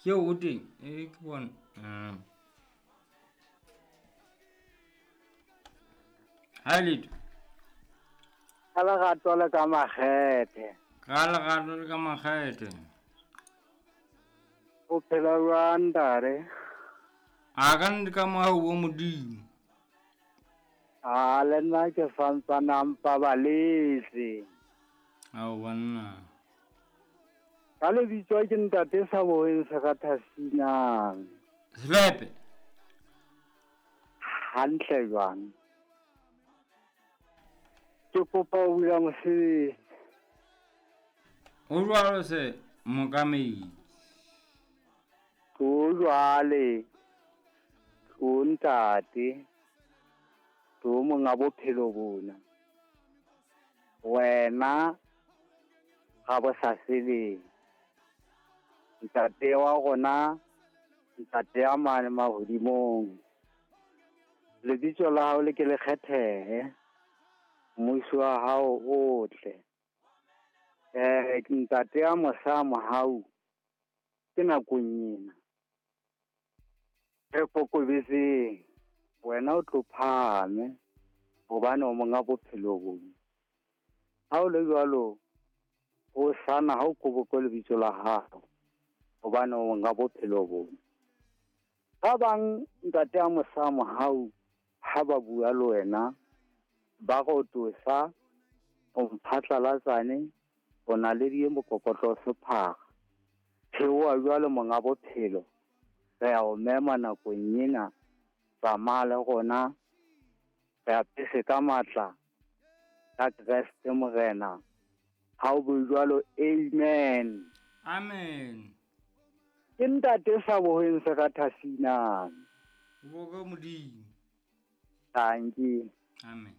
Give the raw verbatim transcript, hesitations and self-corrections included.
Ke o teng e ke bona. Mm. Ha letho. Ka lerato le ka makgethe. Ka lerato le ka makgethe. O phela jwang ntate? A ka nnete ka mohau wa Modimo. A le nna ke santsane a mpabaletse. Ao banna. Ka lebitso ke ntate sa boheng se ka thasinang. Selepe. Hantle jwang. Ke kopa ho bula mosebetsi. Ho jwalo se mokamedi. Ho jwale. Ho ntate. Ho monga bophelo bona. Wena ga bo sa sebeng. Ntate wa rona, ntate ya mane mahodimong. Lebitso la hao le ke le kgethehe. Mmuso wa hao o tle. Eh ntate ya mosa mohau ke nakong ena. Re kokobetseng wena o tlo phahame hobane o monga bophelo bona. Ha o le jwalo o sana ha o koboko lebitso la hao hobane o monga bophelo bona. Ba bang ntate ya mosa mohau ha ba bua le wena ba go tosa o mphatlalatsane o na le di mokokotlo sephara. Theoha jwale monga bophelo re a o mema nakong ena tsamaya le rona re apese ka matla ka Kreste Morena. Ha o bue jwalo, amen. Amen. Ke ntate sa boheng se ka thasinang. Bo ka Modimo. Thank you. Amen.